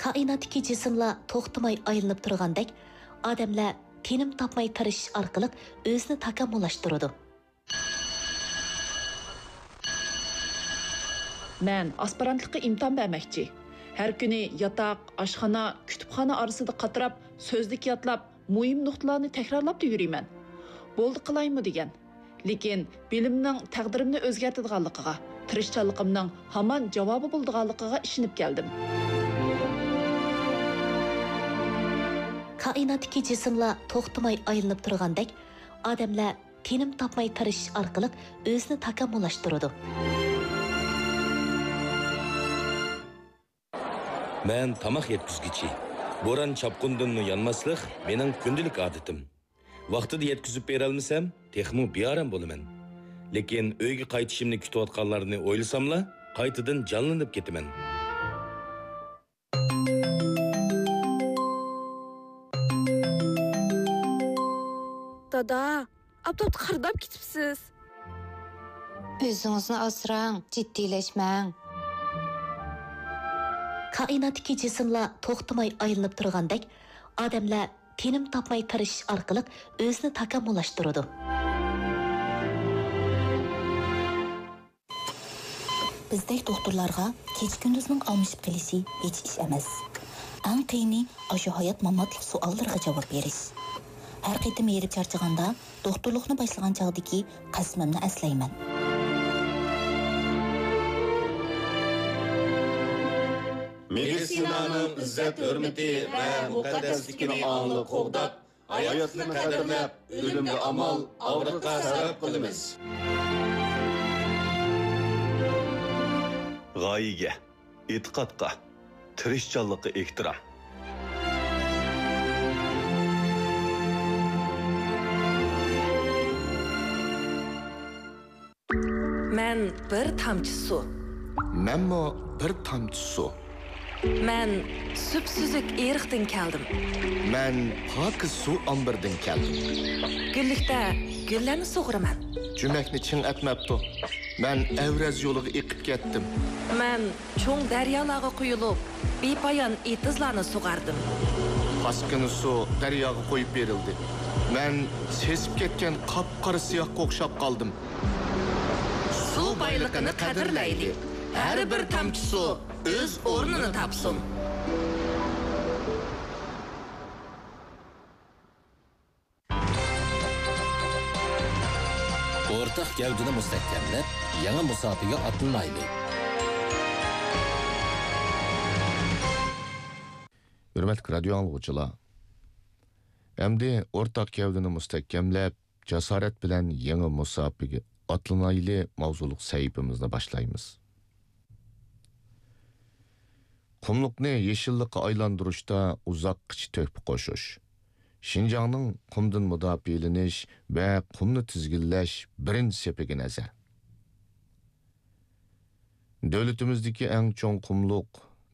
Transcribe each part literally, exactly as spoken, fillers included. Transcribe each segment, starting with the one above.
كائىناتتىكى جىسىملار توختىماي ئايلىنىپ تۇرغاندەك، ئادەملەر تىنىم تاپماي تىرىشىش ئارقىلىق ئۆزىنى تاكامۇللاشتۇرىدۇ. مەن ئاسپىرانتلىققا ئىمتىھان بەرمەكچى. ھەر كۈنى ياتاق، ئاشخانا، كۇتۇپخانا ئارىسىدا قاتراپ، سۆزلۈك يادلاپ، مۇھىم نۇقتىلارنى تەكرارلاپلا يۈرىمەن. بولدى قىلايمۇ دېگەن. لېكىن بىلىمنىڭ تەقدىرىمنى ئۆزگەرتىدىغانلىقىغا، تىرىشچانلىقىمنىڭ ھامان جاۋابى بولىدىغانلىقىغا ئىشىنىپ كەلدىم. كائىناتتىكى جىسىملار توختىماي ئايلىنىپ تۇرغاندەك، ئادەملەر تىنىم تاپماي تىرىشىش ئارقىلىق ئۆزىنى تاكامۇللاشتۇرىدۇ. مەن تاماق يەتكۈزگۈچى. بوران-چاپقۇندىنمۇ يانماسلىق مېنىڭ كۈندىلىك ئادىتىم. ۋاقتىدا يەتكۈزۈپ بېرەلمىسەم، تېخىمۇ بىئارام بولىمەن. لېكىن ئۆيگە قايتىشىمنى كۈتۈۋاتقانلارنى ئويلىساملا، قايتىدىن جانلىنىپ كېتىمەن. دادا، ئاپتاپتا قارىداپ كېتىپسىز. ئۆزىڭىزنى ئاسراڭ، جىددىيلەشمەڭ. كائىناتتىكى جىسىملار توختىماي ئايلىنىپ تۇرغاندەك، ئادەملەر تىنىم تاپماي تىرىشىش ئارقىلىق ئۆزىنى تاكامۇللاشتۇرىدۇ. بىزدەك دوختۇرلارغا كېچە-كۈندۈزنىڭ ئالمىشىپ قېلىشى ھېچ ئىش ئەمەس. ئەڭ قىيىنى ئاشۇ ھايات-ماماتلىق سوئاللىرىغا جاۋاب بېرىش. ھەر قېتىم ھېرىپ چارچىغاندا، دوختۇرلۇقنى باشلىغان چاغدىكى قەسىمىمنى ئەسلەيمەن. مېدىتسىنانىڭ ئىززەت-ھۆرمىتى ۋە مۇقەددەسلىكىنى ئاڭلىق قوغداپ، ھاياتلىقنى قەدىرلەپ، ئۆلۈمگە ئامال، ئاغرىققا سەۋەب قىلىمىز. غايىگە، ئېتىقادقا، تىرىشچانلىققا ئېھتىرام. مەن بىر تامچە سۇ. مەنمۇ بىر تامچە سۇ. مەن سۈپسۈزۈك ئېرىقتىن كەلدىم. مەن پاكىز سۇ ئامبىرىدىن كەلدىم. گۈللۈكتە گۈللەرنى سۇغىرىمەن. جۈمەكنى چىڭ ئەتمەپتۇ. مەن ئەۋرەز يولىغا ئېقىپ كەتتىم. مەن چوڭ دەريالارغا قۇيۇلۇپ، بىپايان ئېتىزلارنى سۇغاردىم. پاسكىنا سۇ دەرياغا قويۇپ بېرىلدى. مەن سېسىپ كەتكەن قاپقارا سىياھقا ئوخشاپ قالدىم. سۇ بايلىقىنى قەدىرلەيلى. ھەر بىر تامچە سۇ ئۆز ئورنىنى تاپسۇن. ئورتاق گەۋدىنى مۇستەھكەملەپ، يېڭى مۇساپىگە ئاتلىنايلى! ھۆرمەتلىك رادىيو ئاڭلىغۇچىلار! ئەمدى ئورتاق گەۋدىنى مۇستەھكەملەپ، جاسارەت بىلەن يېڭى مۇساپىگە ئاتلىنايلى ماۋزۇلۇق سەھىپىمىزنى باشلايمىز. قۇملۇقنى يېشىللىققا ئايلاندۇرۇشتا ئۇزاققىچە تۆھپە قوشۇش، شىنجاڭنىڭ قۇمدىن مۇداپىئەلىنىش ۋە قۇمنى تىزگىنلەش بىرىنچى سېپىگە نەزەر. دۆلىتىمىزدىكى ئەڭ چوڭ قۇملۇق،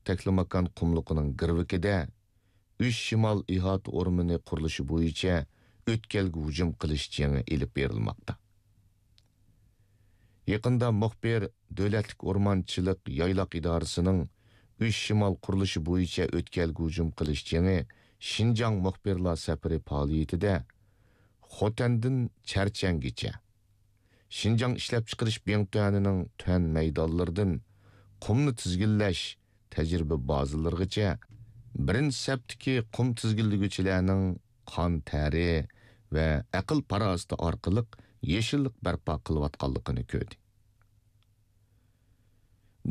تەكلىماكان قۇملۇقىنىڭ گىرۋىكىدە ئۈچ شىمال ئىھاتە ئورمىنى قۇرۇلۇشى بويىچە ئۆتكەلگە ھۇجۇم قىلىش جېڭى ئېلىپ بېرىلماقتا. يېقىندا مۇخبىر دۆلەتلىك ئورمانچىلىق يايلاق ئىدارىسىنىڭ ئۈچ شىمال قۇرۇلۇشى بويىچە ئۆتكەلگە ھۇجۇم قىلىش جېڭى شىنجاڭ مۇخبىرلار سەپىرى پائالىيىتىدە خوتەندىن چەرچەنگىچە، شىنجاڭ ئىشلەپچىقىرىش بىڭتۈەنىنىڭ تۈەن مەيدانلىرىدىن قۇمنى تىزگىنلەش تەجرىبە بازىلىرىغىچە بىرىنچى سەپتىكى قۇم تىزگىنلىگۈچىلەرنىڭ قان تەرى ۋە ئەقىل پاراسىتى ئارقىلىق يېشىللىق بەرپا قىلىۋاتقانلىقىنى كۆردى.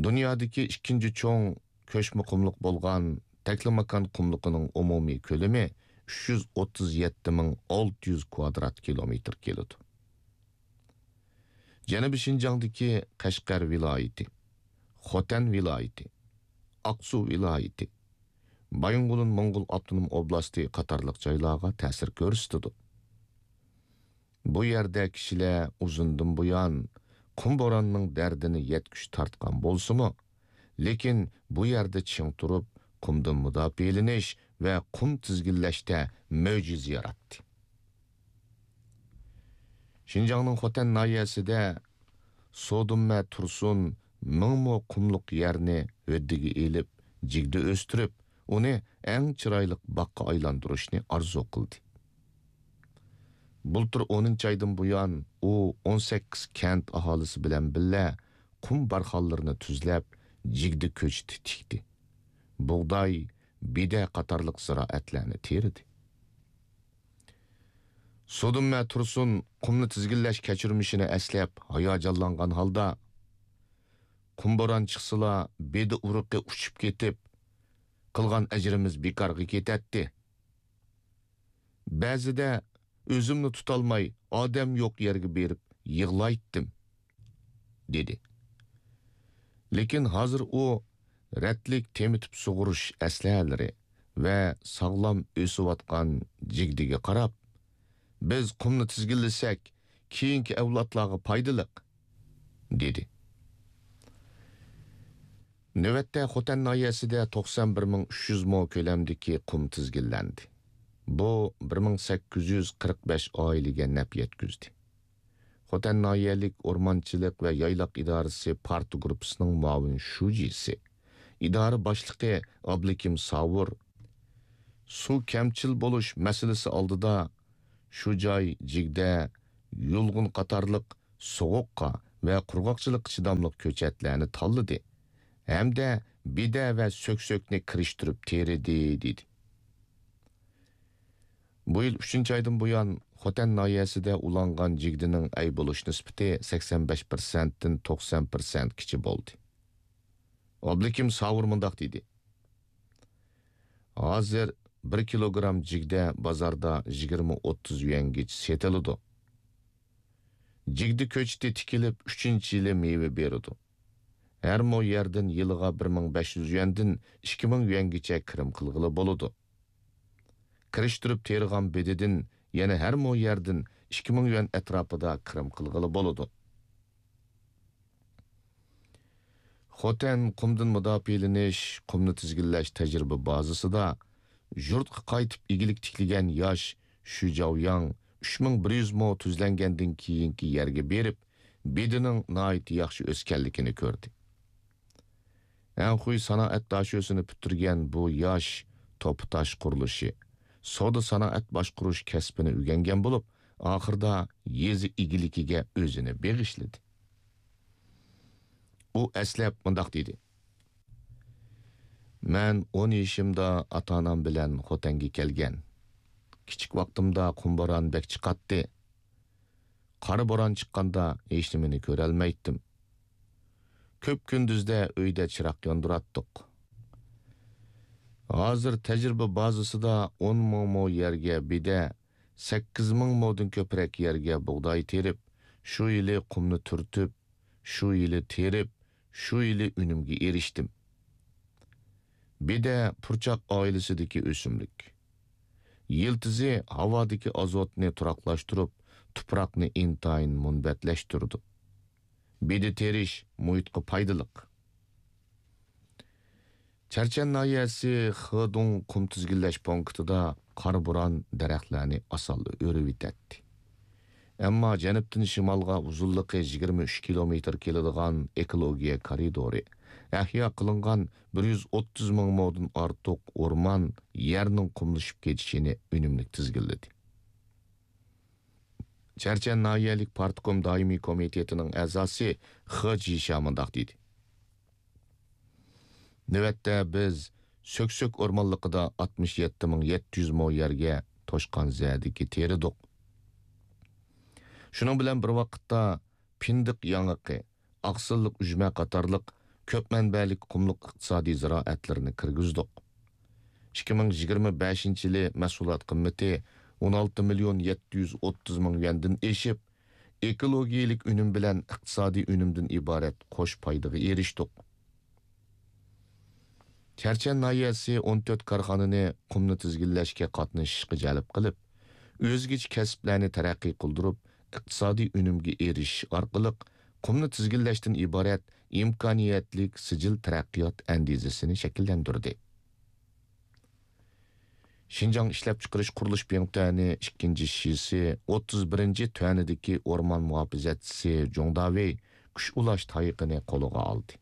دۇنيادىكى ئىككىنچى چوڭ كۆچمە قۇملۇق بولغان تەكلىماكان قۇملۇقىنىڭ ئومۇمىي كۆلىمى ئۈچ يۈز ئوتتۇز يەتتە مىڭ ئالتە يۈز كۋادرات كىلومېتىر كېلىدۇ. جەنۇبىي شىنجاڭدىكى قەشقەر ۋىلايىتى، خوتەن ۋىلايىتى، ئاقسۇ ۋىلايىتى، بايىنغولىن موڭغۇل ئاپتونوم ئوبلاستى قاتارلىق جايلارغا تەسىر كۆرسىتىدۇ. بۇ يەردە كىشىلەر ئۇزۇندىن بۇيان قۇم بوراننىڭ دەردىنى يەتكۈچە تارتقان بولسىمۇ، لېكىن بۇ يەردە چىڭ تۇرۇپ، قۇمدىن مۇداپىئەلىنىش ۋە قۇم تىزگىنلەشتە مۆجىزە ياراتتى. شىنجاڭنىڭ خوتەن ناھىيەسىدە سودۇممە تۇرسۇن مىڭ مو قۇملۇق يەرنى ھۆددىگە ئېلىپ، جىگدە ئۆستۈرۈپ، ئۇنى ئەڭ چىرايلىق باغقا ئايلاندۇرۇشنى ئارزۇ قىلدى. بۇلتۇر ئونىنچى ئايدىن بۇيان ئۇ ئون سەككىز كەنت ئاھالىسى بىلەن بىللە قۇم بارخانلىرىنى تۈزلەپ، جىگدە كۆچىتى تىكتى. بۇغداي، بېدە قاتارلىق زىرائەتلەرنى تېرىدى. سۇدۇنمە تۇرسۇن قۇمنى تىزگىنلەش كەچۈرمىشىنى ئەسلەپ ھاياجانلانغان ھالدا، «قۇم بوران چىقسىلا، بېدە ئۇرۇقى ئۇچۇپ كېتىپ، قىلغان ئەجرىمىز بىكارغا كېتەتتى. بەزىدە ئۆزۈمنى تۇتالماي، ئادەم يوق يەرگە بېرىپ يىغلايتتىم» دېدى. لېكىن ھازىر ئۇ رەتلىك تېمىتىپ سۇغۇرۇش ئەسلىھەلىرى ۋە ساغلام ئۆسۈۋاتقان جىگدىگە قاراپ، «بىز قۇمنى تىزگىنلىسەك، كېيىنكى ئەۋلادلارغا پايدىلىق» دېدى. نۆۋەتتە خوتەن ناھىيەسىدە توقسان بىر مىڭ ئۈچ يۈز مو كۆلەمدىكى قۇم تىزگىنلەندى. بۇ بىر مىڭ سەككىز يۈز قىرىق بەش ئائىلىگە نەپ يەتكۈزدى. خوتەن ناھىيەلىك ئورمانچىلىق ۋە يايلاق ئىدارىسى پارتگۇرۇپپىسىنىڭ مۇئاۋىن شۇجىسى، ئىدارە باشلىقى ئابلىكىم ساۋۇر سۇ كەمچىل بولۇش مەسىلىسى ئالدىدا شۇ جاي جىگدە، يۇلغۇن قاتارلىق سوغۇققا ۋە قۇرغاقچىلىققا چىداملىق كۆچەتلەرنى تاللىدى ھەمدە بېدە ۋە سۆكسۆكنى كىرىشتۈرۈپ تېرىدى، دېدى. بۇ يىل ئۈچىنچى ئايدىن بۇيان خوتەن ناھىيەسىدە ئۇلانغان جىگدىنىڭ ئەي بولۇش نىسبىتى سەكسەن بەش پىرسەنتتىن توقسان پىرسەنتكىچە بولدى. ئابلىكىم ساۋۇر مۇنداق دېدى: «ھازىر بىر كىلوگرام جىگدە بازاردا يىگىرمە ئوتتۇز يۈەنگىچە سېتىلىدۇ. جىگدە كۆچىتى تىكىلىپ، ئۈچىنچى يىلى مېۋە بېرىدۇ. ھەر مو يەردىن يىلىغا بىر مىڭ بەش يۈز يۈەندىن ئىككى مىڭ يۈەنگىچە كىرىم قىلغىلى بولىدۇ. كىرىشتۈرۈپ تېرىغان بېدىدىن يەنە ھەر مو يەردىن ئىككى مىڭ يۈەن ئەتراپىدا كىرىم قىلغىلى بولىدۇ.» خوتەن قۇمدىن مۇداپىئەلىنىش، قۇمنى تىزگىنلەش تەجرىبە بازىسىدا يۇرتقا قايتىپ ئىگىلىك تىكلىگەن ياش شۈ جاۋياڭ ئۈچ مىڭ بىر يۈز مو تۈزلەنگەندىن كېيىنكى يەرگە بېرىپ، بېدىنىڭ ناھايىتى ياخشى ئۆسكەنلىكىنى كۆردى. ئەنخۇي سانائەت داشۆسىنى پۈتتۈرگەن بۇ ياش توپا تاش قۇرۇلۇشى، سودا سانائەت باشقۇرۇش كەسپىنى ئۆگەنگەن بولۇپ، ئاخىرىدا يېزا ئىگىلىكىگە ئۆزىنى بېغىشلىدى. ئۇ ئەسلەپ مۇنداق دېدى: «مەن ئون يېشىمدا ئاتا-ئانام بىلەن خوتەنگە كەلگەن. كىچىك ۋاقتىمدا قۇم بوران بەك چىقاتتى. قارا بوران چىققاندا ھېچنېمىنى كۆرەلمەيتتىم. كۆپ كۈندۈزدە ئۆيدە چىراغ ياندۇراتتۇق. ھازىر تەجرىبە بازىسىدا ئون مىڭ مو يەرگە بېدە، سەككىز مىڭ مودىن كۆپرەك يەرگە بۇغداي تېرىپ، شۇ يىلى قۇمنى تۈرتۈپ، شۇ يىلى تېرىپ، شۇ يىلى ئۈنۈمگە ئېرىشتىم.» بېدە پۇرچاق ئائىلىسىدىكى ئۆسۈملۈك. يىلتىزى ھاۋادىكى ئازوتنى تۇراقلاشتۇرۇپ، تۇپراقنى ئىنتايىن مۇنبەتلەشتۈرىدۇ. بېدە تېرىش مۇھىتقا پايدىلىق. چەرچەن ناھىيەسى خېدۇڭ قۇم تىزگىنلەش پونكىتىدا قارا بوران دەرەخلەرنى ئاسانلا ئۆرۈۋېتەتتى. ئەمما جەنۇبتىن شىمالغا ئۇزۇنلۇقى يىگىرمە ئۈچ كىلومېتىر كېلىدىغان ئېكولوگىيە كارىدورى، ئەھيا قىلىنغان بىر يۈز ئوتتۇز مىڭ مودىن ئارتۇق ئورمان يەرنىڭ قۇملىشىپ كېتىشىنى ئۈنۈملۈك تىزگىنلىدى. چەرچەن ناھىيەلىك پارتكوم دائىمىي كومىتېتىنىڭ ئەزاسى خې جىشيا مۇنداق دېدى: «نۆۋەتتە بىز سۆكسۆك ئورمانلىقىدا ئاتمىش يەتتە مىڭ يەتتە يۈز مو يەرگە توشقان زەدىكى تېرىدۇق. شۇنىڭ بىلەن بىر ۋاقىتتا پىندىق ياڭىقى، ئاقسىللىق ئۈجمە قاتارلىق كۆپ مەنبەلىك قۇملۇق ئىقتىسادىي زىرائەتلىرىنى كىرگۈزدۇق. ئىككى مىڭ يىگىرمە بەشىنچى يىلى مەھسۇلات قىممىتى ئون ئالتە مىليون يەتتە يۈز ئوتتۇز مىڭ يۈەندىن ئېشىپ، ئېكولوگىيەلىك ئۈنۈم بىلەن ئىقتىسادىي ئۈنۈمدىن ئىبارەت قوش پايدىغا ئېرىشتۇق.» چەرچەن ناھىيەسى ئون تۆت كارخانىنى قۇمنى تىزگىنلەشكە قاتنىشىشقا جەلپ قىلىپ، ئۆزگىچە كەسىپلەرنى تەرەققىي قىلدۇرۇپ، ئىقتىسادىي ئۈنۈمگە ئېرىشىش ئارقىلىق قۇمنى تىزگىنلەشتىن ئىبارەت ئىمكانىيەتلىك سىجىل تەرەققىيات ئەندىزىسىنى شەكىللەندۈردى. شىنجاڭ ئىشلەپچىقىرىش قۇرۇلۇش بىڭتۈەنى ئىككىنچى شىسى ئوتتۇز بىرىنچى تۈەنىدىكى ئورمان مۇھاپىزەتچىسى جۇڭ داۋېي كۈچ ئۇلاش تايىقىنى قولىغا ئالدى.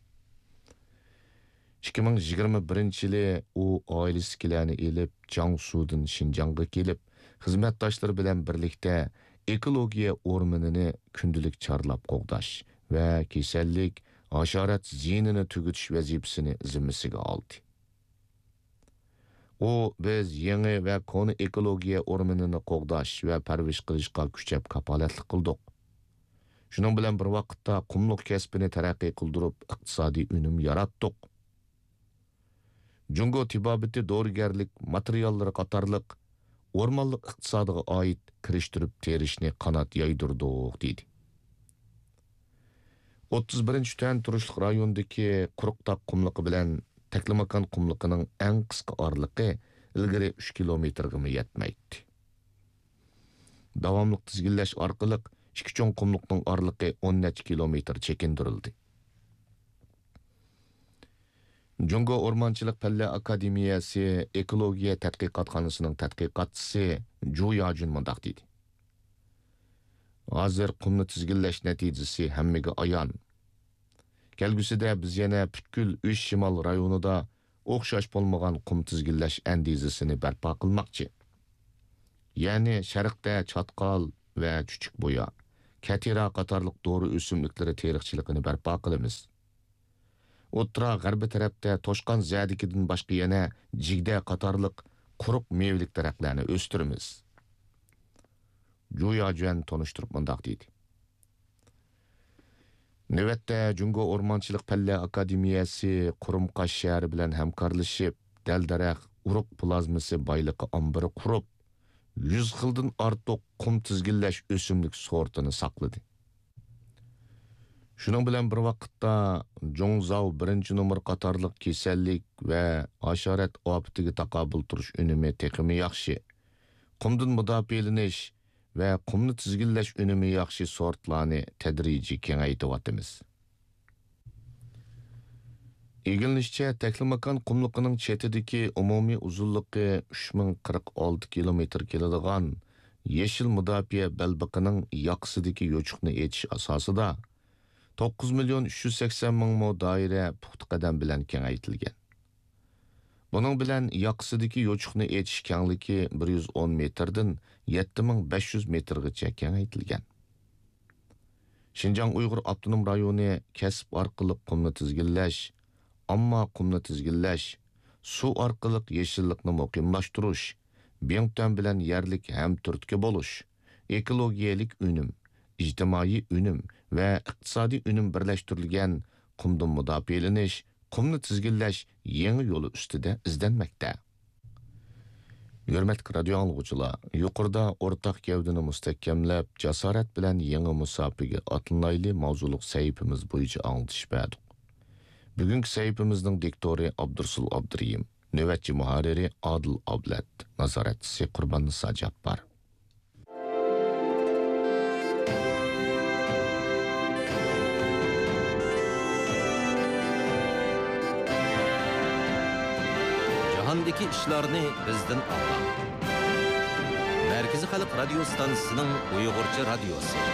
ئىككى مىڭ يىگىرمە بىرىنچى يىلى ئۇ ئائىلىسىدىكىلەرنى ئېلىپ، جياڭسۇدىن شىنجاڭغا كېلىپ، خىزمەتداشلىرى بىلەن بىرلىكتە ئېكولوگىيە ئورمىنىنى كۈندىلىك چارلاپ قوغداش ۋە كېسەللىك، ھاشارات زىيىنىنى تۈگىتىش ۋەزىپىسىنى زىممىسىگە ئالدى. ئۇ، بىز يېڭى ۋە كونا ئېكولوگىيە ئورمىنىنى قوغداش ۋە پەرۋىش قىلىشقا كۈچەپ كاپالەتلىك قىلدۇق. شۇنىڭ بىلەن بىر ۋاقىتتا، قۇملۇق كەسپىنى تەرەققىي قىلدۇرۇپ، ئىقتىسادىي ئۈنۈم ياراتتۇق. جۇڭگو تېبابىتى دورىگەرلىك ماتېرىياللىرى قاتارلىق ئورمانلىق ئىقتىسادىغا ئائىت كىرىشتۈرۈپ تېرىشنى قانات يايدۇردۇق، دېدى. ئوتتۇز بىرىنچى تۈەن تۇرۇشلۇق رايوندىكى قۇرۇق تاغ قۇملۇقى بىلەن تەكلىماكان قۇملۇقىنىڭ ئەڭ قىسقا ئارىلىقى ئىلگىرى ئۈچ كىلومېتىرغىمۇ يەتمەيتتى. داۋاملىق تىزگىنلەش ئارقىلىق ئىككى چوڭ قۇملۇقنىڭ ئارىلىقى ئون نەچچە كىلومېتىر چېكىندۈرۈلدى. جۇڭگو ئورمانچىلىق پەنلەر ئاكادېمىيەسى ئېكولوگىيە تەتقىقاتخانىسىنىڭ تەتقىقاتچىسى جۇ ياجۈن مۇنداق دېدى: ھازىر قۇمنى تىزگىنلەش نەتىجىسى ھەممىگە ئايان. كەلگۈسىدە بىز يەنە پۈتكۈل ئۈچ شىمال رايونىدا ئوخشاش بولمىغان قۇم تىزگىنلەش ئەندىزىسىنى بەرپا قىلماقچى. يەنى شەرقتە چاتقال ۋە چۈچۈكبۇيا، كەتىرا قاتارلىق دورا ئۆسۈملۈكلىرى تېرىقچىلىقىنى بەرپا قىلىمىز. ئوتتۇرا غەربىي تەرەپتە توشقان زەدىكىدىن باشقا يەنە جىگدە قاتارلىق قۇرۇق مېۋىلىك دەرەخلەرنى ئۆستۈرىمىز. جۇ ياجۈەن تونۇشتۇرۇپ مۇنداق دېدى: نۆۋەتتە جۇڭگو ئورمانچىلىق پەنلەر ئاكادېمىيەسى قۇرۇمقاش شەھىرى بىلەن ھەمكارلىشىپ، دەل-دەرەخ، ئۇرۇق پلازمىسى بايلىقى ئامبىرى قۇرۇپ، يۈز خىلدىن ئارتۇق قۇم تىزگىنلەش ئۆسۈملۈك سورتىنى ساقلىدى. شۇنىڭ بىلەن بىر ۋاقىتتا، جۇڭزاۋ بىرىنچى نومۇر قاتارلىق كېسەللىك ۋە ھاشارات ئاپىتىگە تاقابىل تۇرۇش ئۈنۈمى تېخىمۇ ياخشى. قۇمدىن مۇداپىئەلىنىش ۋە قۇمنى تىزگىنلەش ئۈنۈمى ياخشى سورتلارنى تەدرىجىي كېڭەيتىۋاتىمىز. ئىگىلىنىشىچە، تەكلىماكان قۇملۇقىنىڭ چېتىدىكى ئومۇمىي ئۇزۇنلۇقى ئۈچ مىڭ قىرىق ئالتە كىلومېتىر كېلىدىغان يېشىل مۇداپىئە بەلبېقىنىڭ ياقىسىدىكى يوچۇقنى ئېچىش ئاساسىدا، توققۇز مىليون ئۈچ يۈز سەكسەن مىڭ مو دائىرە پۇختا قەدەم بىلەن كېڭەيتىلگەن. بۇنىڭ بىلەن ياقىسىدىكى يوچۇقنى ئېچىش كەڭلىكى بىر يۈز ئون مېتىردىن يەتتە مىڭ بەش يۈز مېتىرغىچە كېڭەيتىلگەن. شىنجاڭ ئۇيغۇر ئاپتونوم رايونى كەسىپ ئارقىلىق قۇمنى تىزگىنلەش، ئامما قۇمنى تىزگىنلەش، سۇ ئارقىلىق يېشىللىقنى مۇقىملاشتۇرۇش، بىڭتۈەن بىلەن يەرلىك ھەمتۈرتكە بولۇش، ئېكولوگىيەلىك ئۈنۈم، ئىجتىمائىي ئۈنۈم ۋە ئىقتىسادىي ئۈنۈم بىرلەشتۈرۈلگەن قۇمدىن مۇداپىئەلىنىش، قۇمنى تىزگىنلەش يېڭى يولى ئۈستىدە ئىزدەنمەكتە. ھۆرمەتلىك رادىيو ئاڭلىغۇچىلار، يۇقىرىدا ئورتاق گەۋدىنى مۇستەھكەملەپ، جاسارەت بىلەن يېڭى مۇساپىگە ئاتلىنايلى ماۋزۇلۇق سەھىپىمىز بويىچە ئاڭلىتىش بەردۇق. بۈگۈنكى سەھىپىمىزنىڭ دىكتورى ئابدۇرسۇل ئابدۇرېھىم، نۆۋەتچى مۇھەررىرى ئادىل ئابلەت، نازارەتچىسى قۇرباننىسا جاپپار. جاھاندىكى ئىشلارنى بىزدىن ئاڭلاڭ. مەركىزىي خەلق رادىيو ستانسىسىنىڭ ئۇيغۇرچە رادىيوسى.